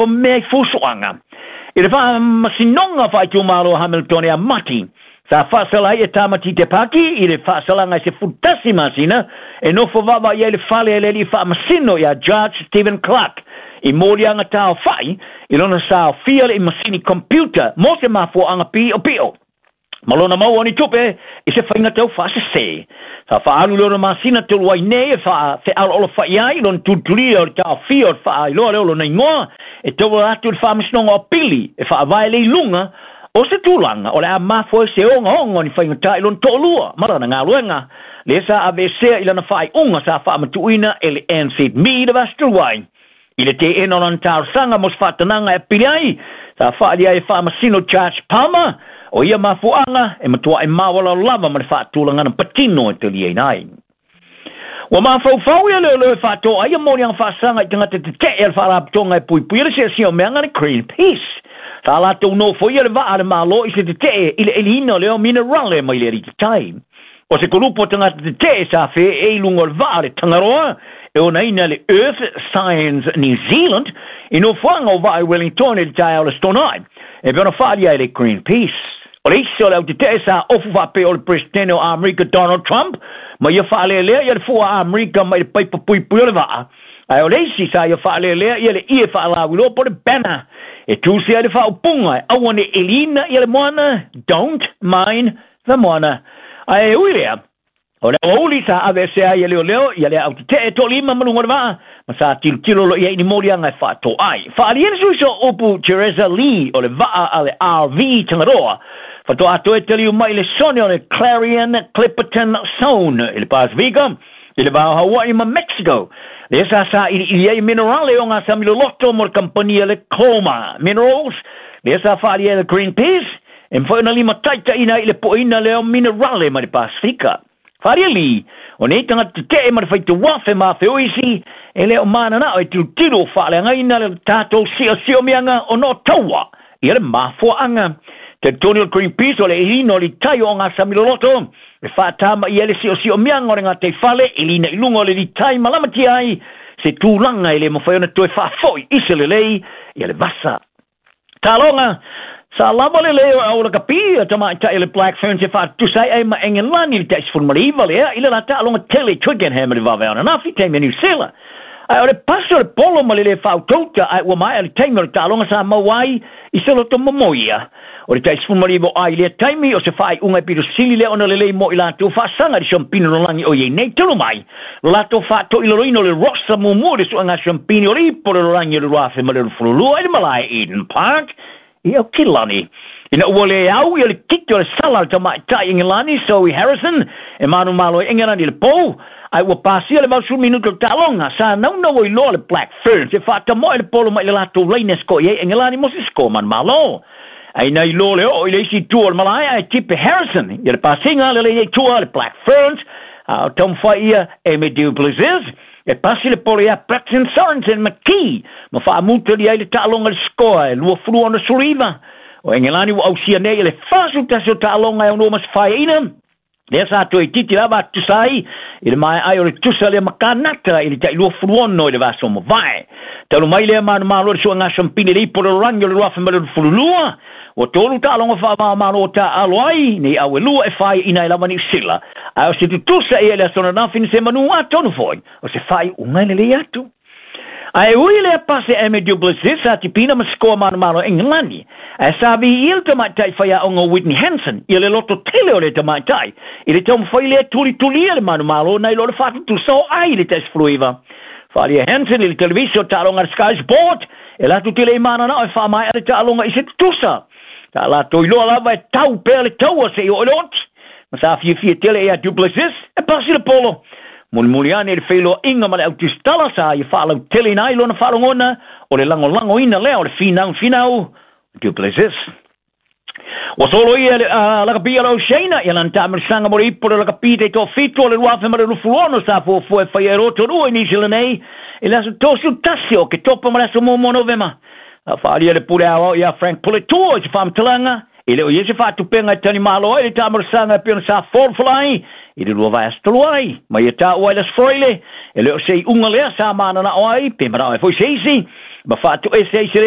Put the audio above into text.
papa mea i fusuaga. I le faamasinoga faaitumalo Hamilton ia Mati, sa faasala ai e Tamati Te Paki i le faasalaga e 11 masina e nofo vaavaai ai le fale e le alii faamasino ia Judge Stephen Clark i moliaga taofai i lona saofia le masini computer mo se mafuaaga piopio ma lona maua o ni tupe i se faiga tau faasesē. Sa faaalu le 6 masina talu ai nei e faafealoalofai ai lona tulitulia o le taofia o le faailoa lea o lona igoa e tauala atu i le faamasinoga o pili e faavae le iluga o se tulaga o le a mafua ai se ogaoga o ni faigata i lona toalua ma lana galuega lea sa aveesea i lana faaiuga sa faamatuuina e le NZME le vaiaso talu ai. I le teena o lana talosaga mo se faatanaga e apili ai, sa faaalia ai e faamasino Judge Palmer o ia mafuaaga e matuai maualalo lava ma le faatulagana patino e taliaina ai. Ua mafaufau ia leoleo e faatoa ai ia moliaga faasaga i tagata tetee a le faalapotopotoga e puipuia le siasia o meaga le Greenpeace. Sa latou nofoia le vaa a le Malo i se tetee i le eliina o lea o minerale mai le alititai. O se kulupu o tagata tetee sa feee i luga o le vaa le Tangaroa e onaina le Earth Science New Zealand i nofoaga o vaa i Wellington i le taeao le Aso Toonai e pei ona faaalia ai le Greenpeace. O le isi o le autetee sa ofu faapea o le Peresetene o Amerika Donald Trump ma ia faalelea ia le fua a Amerika mai le paipa puipui o le vaa, ae o le isi sa ia faalelea ia le ie faalauiloa po o le banner e tusia ai le faaupuga e aua ne i eliina ia le moana, "Don't mine the moana." Ae ui lea, o le aoauli sa aveesea ai e leoleo ia le autetee toalima ma luga o le vaa ma sa tilotilo loa i ai i ni moliaga e faatoa ai. Faaalia le sui sooupu Teresa Lee o le vaa a le RV Tangaroa faatoa toe taliu mai le sone o le Clarion Clipperton Zone i le Pasifika i le va o Hawaii ma Mexico. Lea sa sailiili ai minerale o gasami loloto mo le kampani a le Cloma Minerals. Lea sa faaalia ai le Greenpeace e mafai ona limataitaiina ai i le poeina lea o minerale mai le Pasifika. Faaalia Lee, o nei tagata tetee ma le faitauafe ma afeoisi e le o mananao e tilotilo o faaleagaina le tatou siasiomiaga ona o taua ia le mafuaaga. Talitonu o le Greenpeace o le eliina o le tai o gasami loloto e faatamaia ai le siosiomiaga o le gataifale eliina i luga o le litai ma lamatia ai se tulaga e le mafai ona toe faafoi i se lelei ia le vasa. Taloga, sa lava le leo au lakapi a tamaitai le Black Ferns e faatutusa ai ma Engelani i le tai 19 lea i le la taaloga tele i Twickenham i le vavaeao ananafi taimi a Niu Sila. Ae o le pasi o le polo ma le lē faautauta ae ua maea le taimi o le taaloga sa maua ai i se loto momoia. O le tai 19 o ai i lea taimi o se faaiuga e pito sili lea ona lelei mo i latou faasaga i le siampini lalolagi o i ai nei talu mai lo latou faatoilaloina o le Rosa muamua i le suega siampini o le ipo o le lalolagi o le 2022 i le malae Eden Park i Aukilani. Ina ua le au ia le kiki o le sala a le tamaitai Engelani Zoe Harrison e manumalo ai Engelani i le pou, ae ua pasia le 80 minuta o le taaloga, sa naunau ai loa le Black Ferns e faatamoe le polo mai i le latou laina e siko'i ai Engelani mo se siko manumalo. Ae na iloa le oo i le isi itu o le malae ae tipe Harrison ia le pasiga le laina i tua a le Black Ferns, a o taumafai ia Amy Du Plessis e pasi le polo ia Braxton Sorensen McKee ma faamutalia ai le taaloga i le sikoa e 26-69. O Engelani ua ausia nei i le 41 o taaloga e aunua ma se faeaina, lea sa toe itiiti lava atutusa ai i le maea ai o le tusa lea ma Kanata i le tai 26 i le vaiaso mavae. Talu mai lea manumalo i le suega siampini le ipo o le lalolagi o le 2022, ua tolu taaloga faava-o-Malo o taaalo ai nei au e lua e faaiaina ai lava Niu Sila. Ae o se tutusa ia i le aso ananafi na se manu atonu foi o se faaiuga e lelei atu. Ae ui lea pasi a Amy Du Plessis sa tipina ma sikoa manumalo Engelani. Ae sa viia le tamaitai faiaoga o Whitney Hansen ia le loto tele o le tamaitai i le taumafai lea tulitulia le manumalo nai lo le faatutusa o ai i le tai 19. Faaalia Hansen i le televisi o taaloga a le Sky Sport e latou te le i mananao e faamaea le taaloga i se tutusa. Sa latou iloa lava e tau pea le taua seia oo i le oti. Ma sa fiafia tele ia Du Plessis e pasi le polo. Mulimuli ane i le feiloaiga ma le autusitala sa ia faalauteleina ai lona faalogona o le lagolagoina lea o le finau finau Du Plessis. Ua solo ia le lakapi a le Oceania ia lana taamilosaga mo le ipo o le lakapi taitoafitu o le 2026 sa fuafua e faia e Rotorua i Niu Sila nei i le aso 31 o Oketopa ma le aso 1 o Novema. A faaalia le pule aoao ia Frank Puletua i se faamatalaga e le o i ai se faatupega e talimalo ai le taamilosaga e pei ona sa folafola ai i le 2 vaiaso talu ai. Ma ia taua ai le Aso Faraile e le o se iuga lea sa mananao ai pe manao ai foi se isi ma faatoese ai se